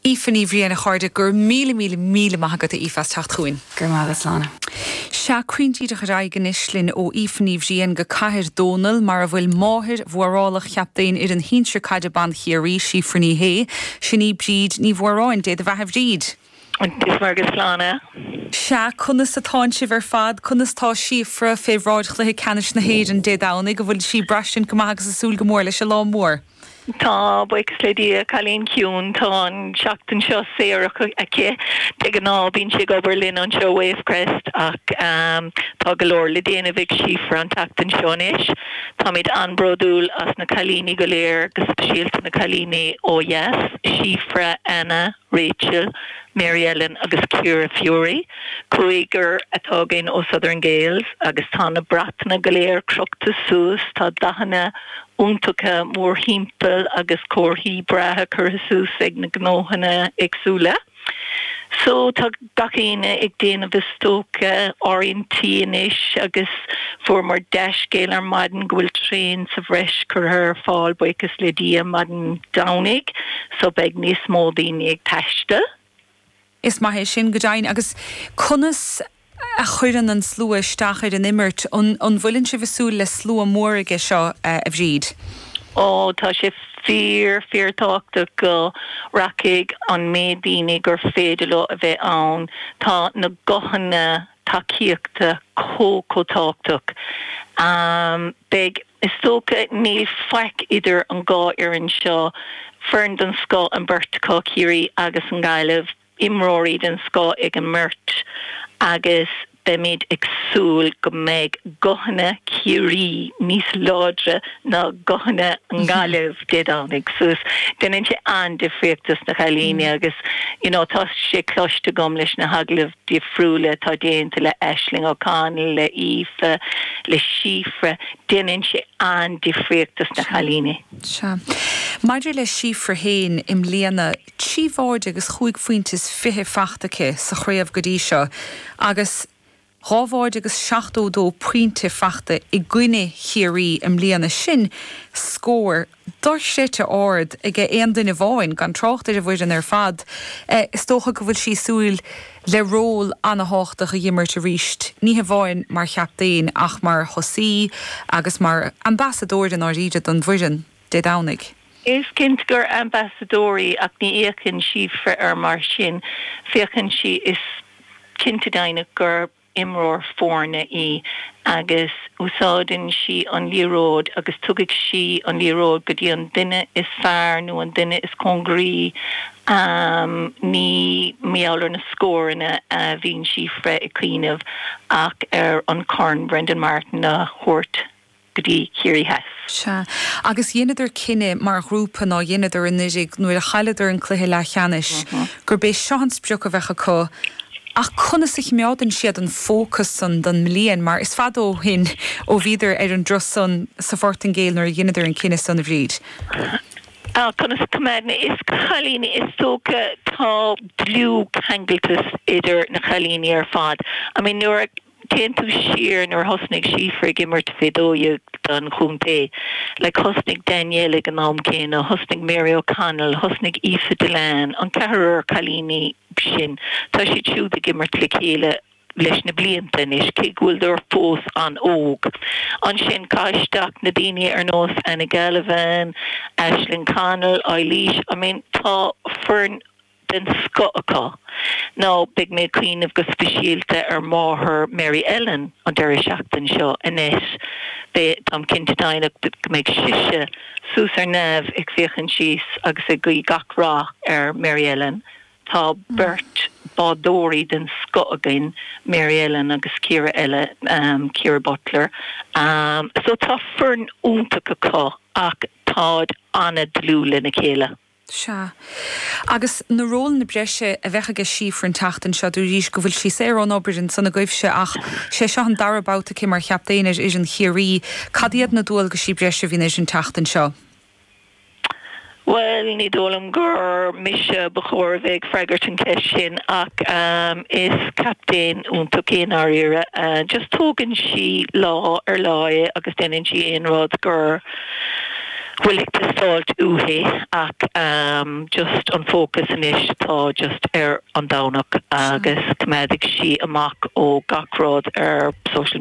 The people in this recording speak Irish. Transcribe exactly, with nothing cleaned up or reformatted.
Aoife Ní Bhriain a chairde gur míle míle míle maith agat Aoife as teacht chugainn. Gur má slána. Sea cuaintí a chuireigin linn ó Aoife Ní Bhriain go Cathair Dónall mar a bhfuil máthair mhórálach chaptaen ar an shinsir caide ban Chiarraí Síofra Ní Shé, sin í Bríd Ní Mhóráin Dé do bheatha a Bhríd. Dis mar agus slána. Sea conas atá sibh ar fad conas tá Síofra fé bhráid chluiche ceannais na hÉireann Dé Domhnaigh go bhfuil sí ag braistint go maith agus ag súil go mór leis an lá mór. Tá buíochas le Dia cailín ciúin tá an seachtain seo saor aici de ghnáth bíonn sí ag obair linn anseo Wavecrest ach um, tá go leor le déanamh ag Síofra an tseachtain seo anois. Táimid an-bhródúil as na cailíní go léir go speisialta na cailíní ó dheas, Síofra Anna, Rachel, Mary Ellen agus Ciara Fury. Cúigear atá againn ó Southern Gaels agus tá na bratacha go léir crochta suas tá dathanna iontacha mórthimpeall agus comharthaí breátha curtha suas ag na gnóthanna éagsúla. So tá gach éinne ag déanamh is dócha áirithintí anois agus fuaireamar dea-scéal ar maidin go bhfuil traein sa bhreis curtha ar fáil buíochas le Dia maidin Domhnaigh, so beidh níos mó daoine ag taisteal. Is maith é sin go deimhin agus conas a chuireann an slua isteach ar an imirt an an bhfuileann sibh ag súil le slua mór aige seo uh, a Bhríd. Ó tá sé fíor fíorthábhachtach go rachaidh an méid daoine gur féidir leo a bheith ann tá na guthanna tacaíochta chomh tábhachtach. Um, Beidh is dócha níl faic idir an dhá fhoireann seo foireann den scoth an bheirt acu Ciarraí agus an Ghaillimh imreoirí den scoth ag an mbeirt agus beimid ag súil go mbeidh guthanna Chiarraí níos láidre ná guthanna an Ghaillimh Dé Domhnaigh suas déanann sé an-difríocht dos na cailíní agus you know, tá sé cloiste agam leis na hagallaimh difriúla tá déanta le Aisling O'Connell le Aoife le Síofra déanann sé an-difríocht dos na cailíní. Sea. Maidir le Síofra féin i mbliana trí bháide agus cúig phointe is fiche faighte aici sa chraobh go dtí seo agus dhá bháide agus seachtó dó pointe faighte i gcoinne Chiarraí i mbliana sin scór dochreidte ard ag aon duine amháin gan trácht ar an bhfoireann ar fad. Eh, is dócha go bhfuil sí ag súil le ról an-tábhachtach a imirt arís, ní hamháin mar chaptaen ach mar thosaí agus mar ambasadóir an áiríde don bhfoireann Dé Domhnaigh. Is cinnte gur ambasadóir í ach ní fhéachann Síofra air mar sin féachann sí is cinnte deimhneach gur imreoir foirne í agus úsáideann sí an liathróid agus tugann sí an liathróid go dtí an duine is fearr nó an duine is cóngaraí um, ní meallar na scóranna a bhíonn Síofra ag cuimhneamh ach ar an Corn Brendan Martin a thabhairt go dtí Ciarraí Theas. Sea. Agus dheineadar cinneadh mar ghrúpa ná dheineadar anuraidh nuair a chailleadar an cluiche leathcheannais gurb é seo an sprioc a bheadh acu ach conas a choimeádann siad an fócas san don mbliain mar is fada ó shin ó bhíodar ar an dturas san sa Phortaingéil nuair a dheineadar an cinneadh san a Bhríd. Ah, conas coimeád is cailíní is dócha tá dlúthcheangaltas idir na cailíní ar fad. I mean nuair a téann tú siar nuair thosnaigh Síofra ag imirt fé dó don chontae. Le thosnaigh Danielle ag an am céanna, thosnaigh Mary O'Connell, thosnaigh Aoife Dillane, an ceathrar cailíní sin Tá siad siúd ag imirt le chéile leis na blianta anois cé go bhfuil fós an-óg. Ansin caisteach na daoine ar nós Anna Gallivan, Aisling Connell, Eilís, I mean tá foireann den scoth acu. Nó beidh mé ag cuimhneamh go speisialta ar mháthair Mary Ellen an deireadh seachtain seo anois Be táim cinnte deimhneach go mbeidh sise suas ar neamh ag féachaint síos agus ag guí gach rath ar Mary Ellen. Tá beirt bádóirí den scoth againn Mary Ellen agus Ciara eile um, Ciara Butler. Um, so tá foireann iontach acu ach táid an-dlúth lena chéile. Sea. Agus na rólanna breise a bheidh ag Síofra an tseachtain seo dúirt go bhfuil sí saor ón obair ansan agaibhse ach sé seo an dara babhta aici mar chaptaen ar fhoireann Chiarraí, Cad iad na dualgaisí breise a bhíonn uirthi an tseachtain seo. Well ní dóigh liom gur mise ba chóir bheith ag freagairt an cheist sin ach um, is captaen iontach í dáiríre uh, just tógann sí lá ar lá é agus déanann sí aon rud gur bhfuil ag teastáil uaithi ach um, just an focus anois tá just ar an Domhnach agus coimeádfaidh sí amach ó gach rud ar social